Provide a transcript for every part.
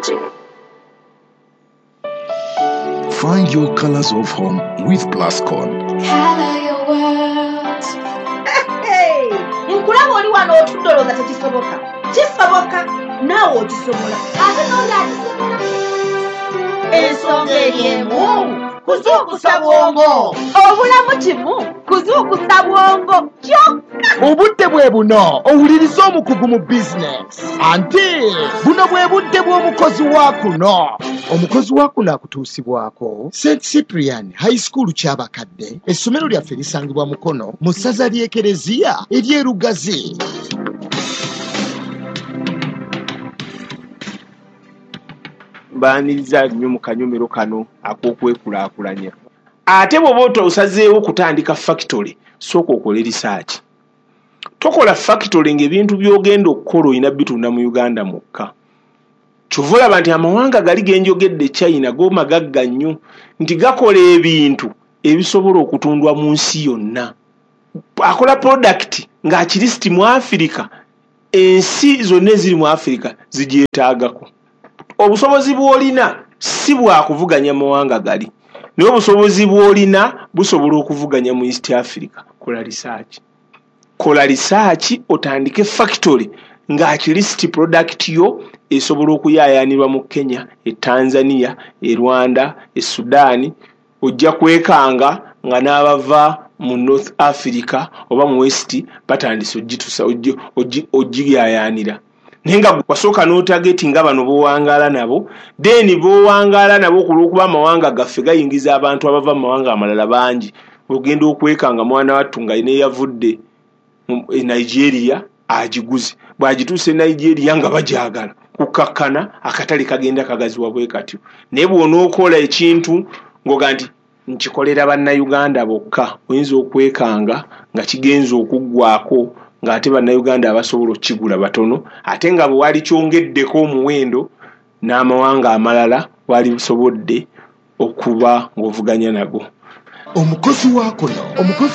Technology. Find your colors of home with Plascon. Color your world. Hey, nkulaba oli wano otudde olowooza tekisoboka. Kisoboka, naawe okisobola. Ate n'oli akisobola. Ensonga eri emu, kuzuukusa bwongo. Obulamu kimu, kuzuukusa bwongo kyokka. Obudde bwe buno owuliriza omukugu mu bizinesi. Anti buno bwe budde bw'omukozi wa kuno. Omukozi wa kuno akutuusibwako St Cyprian High School Kyabakadde. Essomero lyaffe lisangibwa Mukono mu ssaza ly'Ekereziya ery'e Lugazi. Mbaaniriza nnyo mu kanyomero kano ak'okwekulaakulanya. Ate bw'oba osazeewo okutandika factory, sooka okole research. Tokola factory ng'ebintu by'ogenda okukola olina bitunda mu Uganda mwokka. Kyova olaba nti amawanga gali ge njogedde China go magagga nnyo nti gakola ebintu ebisobola okutundwa mu nsi yonna. Akola product ng'akirisiti mu Africa, ensi zonna eziri mu Africa zigyetaagako. Obusobozi bw'olina si bwa kuvuganya mawanga gali, naye obusobozi bw'olina busobola okuvuganya mu East Africa. Kola research. Kola research otandike factory ng'akirisiti product yo esobola okuyaayaanirwa mu Kenya, e Tanzania, e Rwanda, e Sudan. Ojja kwekanga nga n'abava mu North Africa oba mu West batandise ogiyaayaanira. Naye nga wasooka n'otargeti nga bano b'owangaala nabo, then b'owangaala nabo ku lw'okuba amawanga gaffe gayingiza abantu abava mu mawanga amalala bangi, ogenda okwekanga mwana wattu nga neyavudde e Nigeria agiguze. Bw'agituuse e Nigeria nga bagyagala, kukakkana akatale kagenda kagaziwa bwe katyo. Naye bw'onookola ekintu ng'oga nti nkikolera bannayuganda bokka, oyinza okwekanga nga kigenze okuggwako ng'ate bannayuganda abasobola okukigula batono, ate nga bwe wali kyongeddeko omuwendo n'amawanga amalala wali busobodde okuba ng'ovuganya nago. Omukozi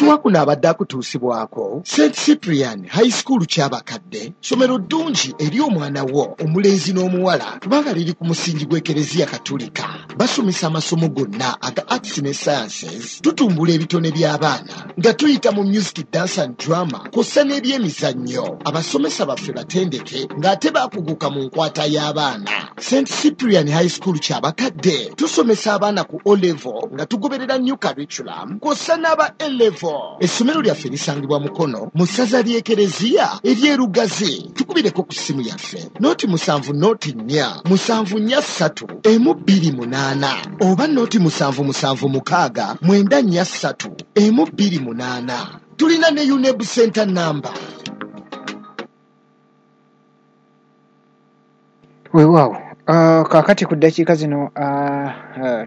wa kuno abadde akutuusibwako St Cyprian High School Kyabakadde, ssomero ddungi eri omwana wo omulenzi n'omuwala kubanga liri ku musingi gw'Ekereziya Katolika. Basomesa amasomo gonna aga arts ne sciences, tutumbula ebitone by'abaana nga tuyita mu music, dance and drama kw'ossa n'ebyemizannyo. Abasomesa baffe batendeke ng'ate baakuguka mu nkwata y'abaana. St Cyprian High School Kyabakadde tusomesa abaana ku O level nga tugoberera new curriculum kw'ossa n'aba A level. Essomero lyaffe lisangibwa Mukono mu ssaza ly'Ekereziya ery'e Lugazi. Tukubireko ku ssimu yaffe 07 04 743 128 oba 0776 943 128. Tulina ne UNEB Center number. Weewaawo. Kaakati ku ddakiika zino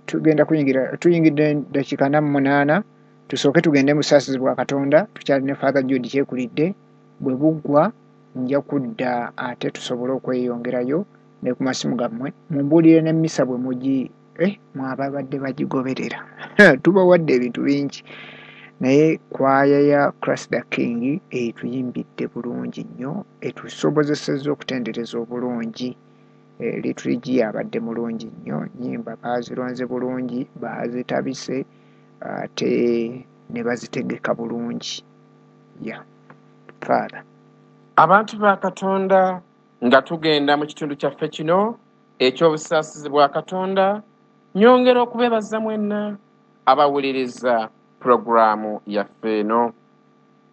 tugenda kuyingira, tuyingidde ddakiika 48. Tusooke tugende mu busaasizi bwa Katonda. Tukyali ne Father Jude Kyekulidde. Bwe buggwa nja kudda ate tusobole okweyongerayo ne ku masimu gammwe mumbuulire n'emmisa bwe mugi mwababadde bagigoberera. Tubawadde ebintu bingi, naye kwaya ya Christ the King etuyimbidde bulungi nnyo, etusobozesezza okutendereza obulungi. Liturgy abadde mulungi nnyo, nnyimba baazironze bulungi, baazitabise ate ne bazitegeka bulungi. Ya Father. Abantu ba Katonda, nga tugenda mu kitundu kyaffe kino eky'obusaasizi bwa Katonda, nyongera okubeebaza mwenna abawuliriza pulogulaamu yaffe eno.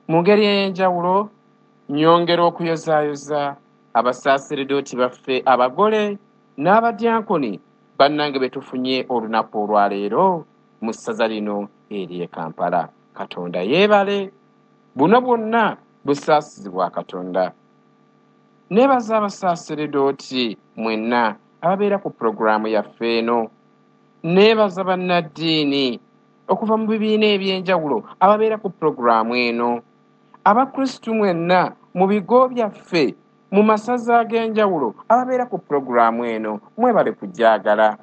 Mu ngeri ey'enjawulo, nyongera okuyozaayoza abasaasiridooti baffe abagole n'abadyankoni bannange be tufunye olunaku olwaleero mu ssaza lino ery'e Kampala. Katonda yeebale, buno bwonna busaasizi bwa Katonda. Neebaza abasaasiridooti mwenna ababeera ku pulogulaamu yaffe eno. Neebaza bannaddiini okuva mu bibiina eby'enjawulo ababeera ku pulogulaamu eno. Abakristu mwenna mu bigo byaffe mu masaza ag'enjawulo ababeera ku pulogulaamu eno, mwebale kugyagala.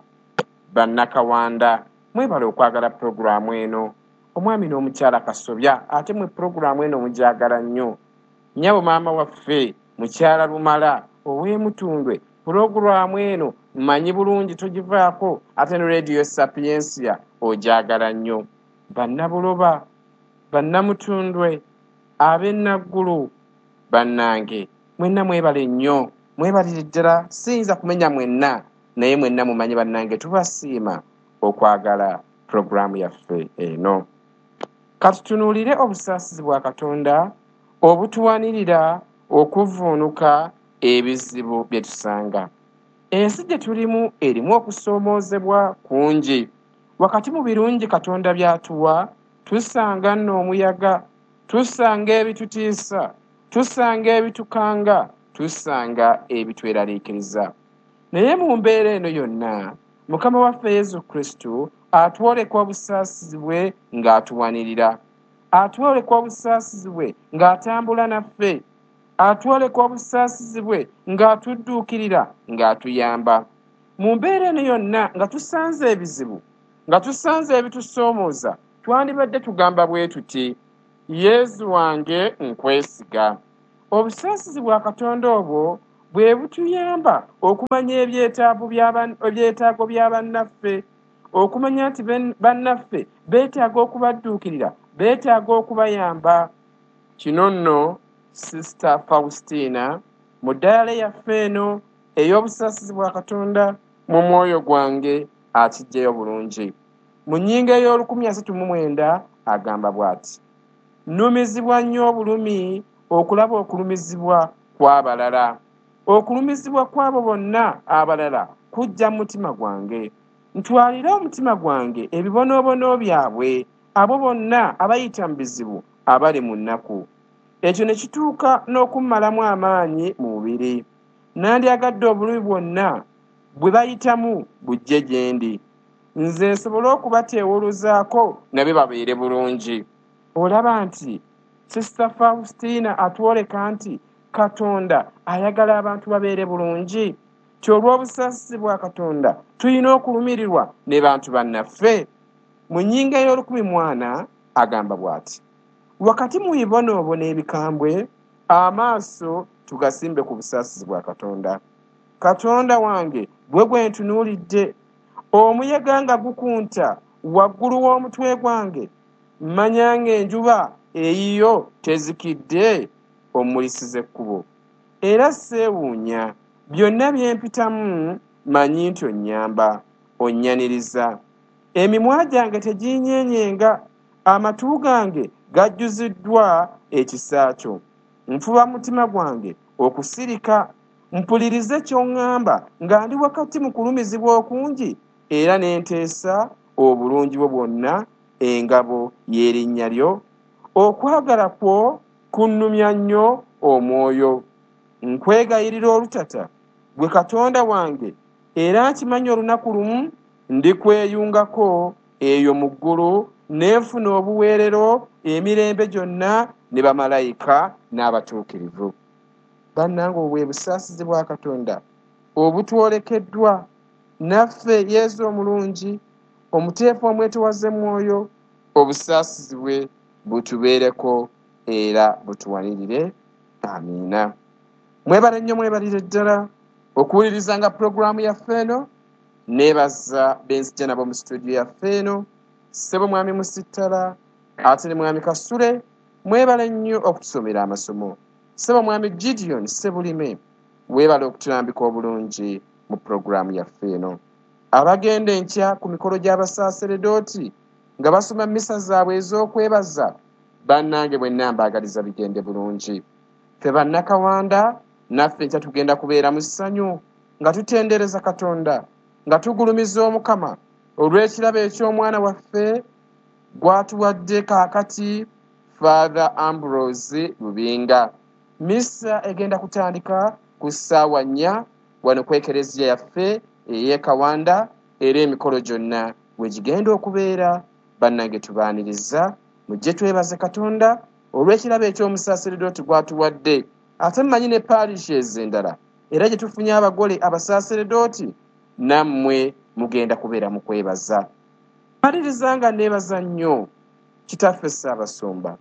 Bannakawanda mwebale okwagala pulogulaamu eno. Omwami n'omukyala Kasobya ate mwe pulogulaamu eno mugyagala nnyo. Nnyabo maama waffe mukyala Lumala ow'Emutundwe Pulogulaamu eno mmanyi bulungi togivaako, ate ne Radio Sapientia ogyagala nnyo. Bannabuloba, bannamutundwe, ab'ennaggulu, bannange mwenna mwebale nnyo, mwebalire ddala. Siyinza kumenya mwenna, naye mwenna mumanyi bannange tubasiima okwagala pulogulaamu yaffe eno. Katutunuulire obusaasizi bwa Katonda obutuwanirira okuvvuunuka ebizibu bye tusanga. Ensi gye tulimu erimu okusoomoozebwa kungi. Wakati mu birungi Katonda by'atuwa, tusanga nno omuyaga, tusanga ebitutiisa, tusanga ebitukanga, tusanga ebitweraliikiriza. Naye mu mbeera eno yonna, Mukama waffe Yesu Kristo atwoleka obusaasizi bwe ng'atuwanirira. Atwoleka obusaasizi bwe ng'atambula naffe. Atwoleka obusaasizi bwe ng'atudduukirira, ng'atuyamba. Mu mbeera eno yonna nga tusanze ebizibu, nga tusanze ebitusoomooza, twandibadde tugamba bwe tuti, Yesu wange nkwesiga. Obusaasizi bwa Katonda obwo bwe butuyamba okumanya ebyetaago bya bannaffe, okumanya nti bannaffe beetaaga okubadduukirira, beetaaga okubayamba. Kino nno Sister Faustina mu ddaala yaffe eno ey'obusaasizi bwa Katonda mu mwoyo gwange akiggyeyo bulungi. Mu nnyingo ey'o139 agamba bw'ati: nnumizibwa nnyo obulumi okulaba okulumizibwa kw'abalala. Okulumizibwa kw'abo bonna abalala kujja mu mutima gwange. Ntwalire omutima gwange ebibonoobono byabwe, abo bonna abayita mu bizibu, abali mu nnaku. Ekyo ne kituuka n'okummalamu amaanyi mu mubiri. Nandyagadde obulumi bwonna bwe bayitamu bujje gye ndi, nze nsobole okubateewuluzaako nabyo babeere bulungi. Olaba nti Sister Faustina atwoleka nti Katonda ayagala abantu babeere bulungi. Ti olw'obusaasizi bwa Katonda tulina okulumirirwa ne bantu bannaffe. Mu nnyingo ey'o1004 agamba bw'ati: wakati mu bibonoobono ebikambwe, amaaso tugasimbe ku busaasizi bwa Katonda. Katonda wange gwe gwe ntunuulidde, omuyaga nga gukunta waggulu w'omutwe gwange, mmanya ng'enjuba eyiyo tezikidde, ommulisiza ekkubo. Era seewuunya byonna bye mpitamu, mmanyi nti onnyamba, onnyaniriza. Emimwa gyange teginyeenyenga, amatu gange gajjuziddwa ekisa kyo. Nfuba mutima gwange okusirika, mpulirize ky'oŋŋamba nga ndi wakati mu kulumizibwa okungi, era ne nteesa obulungi bwo bwonna, engabo y'erinnya lyo. Okwagala kwo kunnumya nnyo omwoyo. Nkwegayirira olutata, gwe Katonda wange, era nkimanyi olunaku lumu ndikweyungako eyo mu ggulu, ne nfuna obuweerero emirembe gyonna ne bamalayika n'abatuukirivu. Bannange, obwo bwe busaasizi bwa Katonda obutwolekeddwa naffe Yesu omulungi, omuteefu omwetowaze mwoyo. Obusaasizi bwe butubeereko era butuwanirire. Amiina. Mwebale nnyo, mwebalire ddala okuwulirizanga pulogulaamu yaffe eno. Neebaza benzijja nabo mu situdiyo yaffe eno, ssebo mwami Musittala ate ne mwami Kasule, mwebale nnyo okutusomera amasomo. Ssebo mwami Gideon Ssebulime, weebale okutulambika obulungi mu pulogulaamu yaffe eno. Abagenda enkya ku mikolo gy'abasaaseredooti nga basoma mmisa zaabwe ez'okwebaza, bannange mwenna mbaagaliza bigende bulungi. Ffe bannakawanda naffe enkya tugenda kubeera mu ssanyu nga tutendereza Katonda, nga tugulumiza Omukama olw'ekirabo eky'omwana waffe gw'atuwadde kaakati, Father Ambrose Lubinga. Missa egenda kutandika ku ssaawa 4 wano ku ekereziya yaffe ey'e Kawanda, era emikolo gyonna we gigenda okubeera. Bannange tubaaniriza, mujje twebaze Katonda olw'ekirabo eky'omusaaseredooti gw'atuwadde. Ate mmanyi ne parishes endala era gye tufunye abagole abasaaseredooti, nammwe mugenda kubeera mu kwebaza. Maliriza nga neebaza nnyo Kitaffe Ssaabasumba,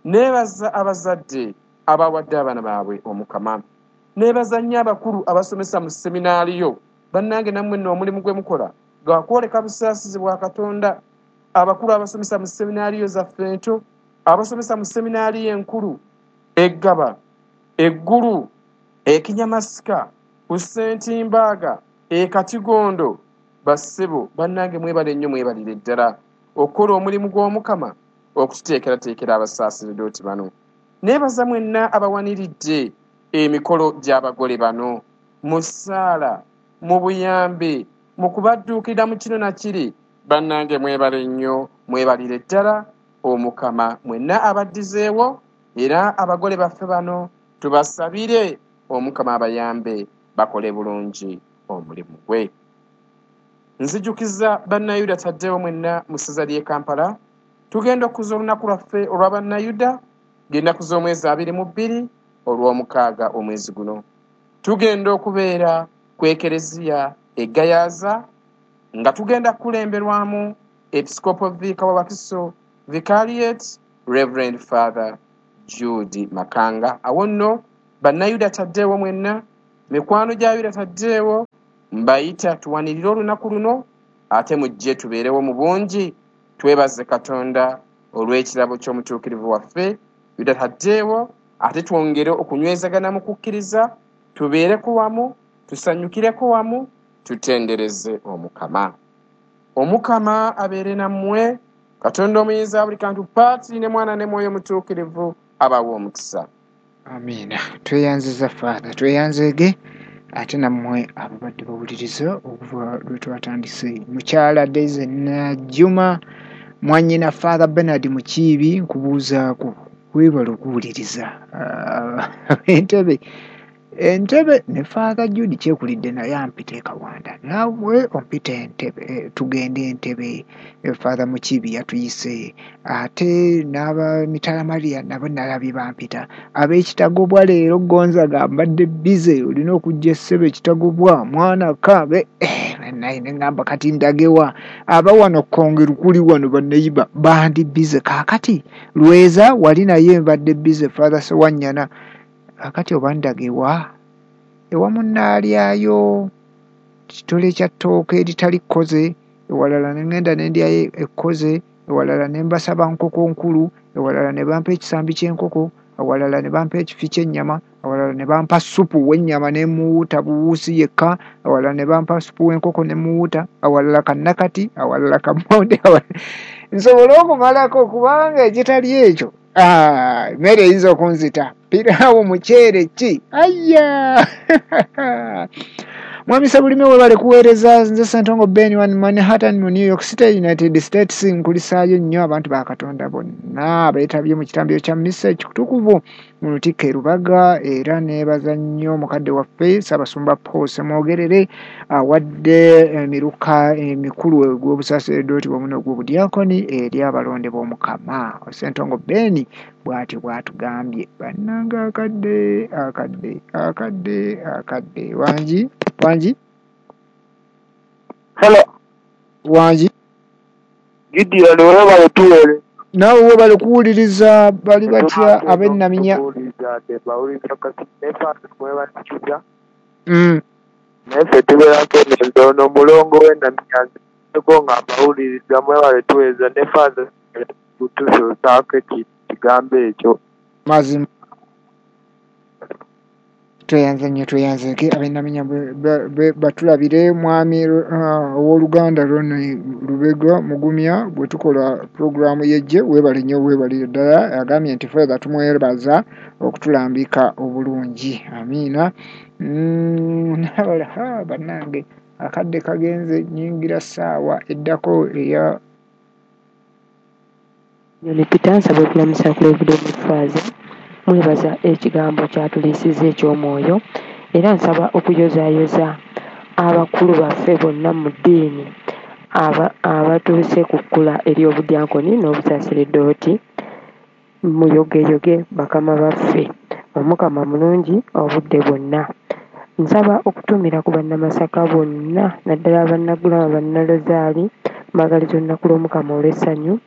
neebaza abazadde abawadde abaana baabwe Omukama, Neebaza nnyo abakulu abasomesa mu seminaaliyo. Bannange nammwe nno omulimu gwe mukola gwakwoleka busaasizi bwa Katonda. Abakulu abasomesa mu seminaaliyo zaffe ento, abasomesa mu seminaaliyo enkulu, Eggaba, Eggulu, Ekinyamasika, ku Ssentimbaaga, Ekatigondo, bassebo bannange mwebale nnyo, mwebalire ddala okukola omulimu gw'Omukama okututeekerateekera abasaaseredooti bano. Neebaza mwenna abawaniridde emikolo gy'abagole bano mu ssaala, mu buyambi, mu kubadduukirira mu kino na kiri. Bannange mwebale nnyo, mwebalire ddala Omukama mwenna abaddizeewo, era abagole baffe bano tubasabire Omukama abayambe bakole bulungi omulimu gwe. Nzijukiza Bannayuda Taddewo mwenna mu ssaza ly'e Kampala, tugenda okukuza olunaku lwaffe olwa Bannayuda ng'ennaku z'omwezi 22 olw'omukaaga omwezi guno. Tugenda okubeera ku Ekereziya e Gayaza nga tugenda kukulemberwamu Episikopo Viika wa Wakiso Vicariate Reverend Father Jude Makanga. Awo nno Bannayuda Taddewo mwenna, mikwano gya Yuda Taddewo, mbayita tuwanirire olunaku luno, ate mujje tubeerewo mu bungi, twebaze Katonda olw'ekirabo ky'omutuukirivu waffe Yuda Taddewo, ate twongere okunywezagana mu kukkiriza, tubeereko wamu, tusanyukireko wamu, tutendereze Omukama. Omukama abeere nammwe, Katonda omuyinza buli kantu, Paatiri ne Mwana ne Mwoyo Mutuukirivu abawe omukisa. Amiina. Tweyanziza Father, tweyanzeege ate nammwe ababadde bawuliriza okuva lwe twatandise. Mukyala Daisy Najjuma, mwannyina Father Bernard Mukiibi, nkubuuzaako weebale okuwuliriza. Entebe ne Father Jude Kyekulidde naye ampita e Kawanda, naawe ompita Entebe, tugende Entebe. Father Mukiibi yatuyise, ate n'aba Mitala Maria nabo nalabye bampita. Ab'Ekitagobwa leero Gonzaga mbadde bize, olina okujja essebe Ekitagobwa mwana kabe naye ne ŋŋamba kati ndagewa. Aba wano Kkonge kuli wano banneyiba bandi bize. Kaakati Lweza wali naye mbadde bize, Father Sewanyana. Kaakati oba ndagewa ewa munnaalyayo kitole kya ttooke eritali kkoze, ewalala ne ŋŋenda ne ndyayo ekkoze, ewalala ne mbasaba nkoko nkulu, ewalala ne bampa ekisambi ky'enkoko, awalala ne bampa ekifi ky'ennyama, awalala ne bampa supu w'ennyama ne muwuuta buwuusi yekka, awalala ne bampa supu w'enkoko ne muwuuta, awalala kannakati, awalala kammonde, nsobole okumalako kubanga ekitali ekyo mmere eyinza okunzita. Piraawo muceere ki ayya. Mwami Sabulime webale kuweereza. Nze Ssentongo Ben wa Manhattan mu New York City, United States. Nkulisaayo nnyo abantu ba Katonda bonna abeetabye mu kitambiro kya mmisa ekitukuvu mu Lutikko e Rubaga, era neebaza nnyo mukadde waffe Ssaabasumba Paul Ssemwogerere awadde emiruka emikulu ogw'obusaseredooti wamu n'ogw'obudyakoni eri abalonde b'Omukama. Ssentongo Ben bw'atyo bw'atugambye. Bannange akadde akadde akadde akadde. Wangi wangi. Hello. Wangi. Gideon webale tuwere. Naawe webale kuwuliriza. Bali batya ab'Ennaminya? Naffe tubeerako eno ono mulongo w'Ennaminya nzeko nga mbawuliriza, mwebale tuweereza ne Father kutusuusaako ekigambo ekyo. Mazima. Tweyanze nnyo, tweyanzeeke ab'Ennaminya batulabire. Mwami owooluganda Ronnie Lubega Mugumya bwe tukola pulogulaamu y'ejje, weebale nnyo, weebalire ddala. Agambye nti Father tumwebaza okutulambika obulungi. Amiina. N'abalala bannange akadde kagenze, nnyingira ssaawa eddako eya Nyoni Peter, nsaba okulamusa ku Reverend Father. Mwebaza ekigambo kyatuliisizza eky'omwoyo, era nsaba okuyozaayoza abakulu baffe bonna mu ddiini abatuuse ku kkula ery'obudyankoni n'obusaseredooti. Muyogeyoge bakama baffe, Omukama mulungi obudde bwonna. Nsaba okutumira ku Bannamasaka bonna, naddala Bannaggulama, Bannalozaali, mbaagaliza olunaku lw'Omukama olw'essanyu.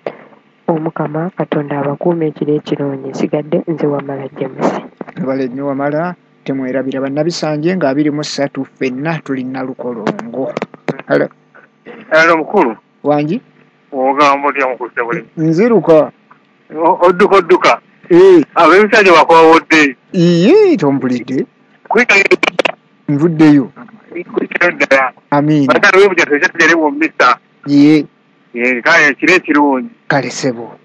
Omukama Katonda abakuume ekiro ekirungi. Nsigadde nze Wamala James. Webale nnyo Wamala. Temwerabira bannabisanje nga 23 ffenna tuli Nalukolongo. Hello. Hello mukulu. Wangi? Ogamba otya mukulu Ssebule? Nziruka. Odduka odduka. Ab'ebisanja bakwawodde. Iye tompulidde. Nvuddeyo. Ddala. Amiina. Bakale webuja tujja tugere mu mmisa. Ye. Kale ekiro ekirungi. Kale ssebo.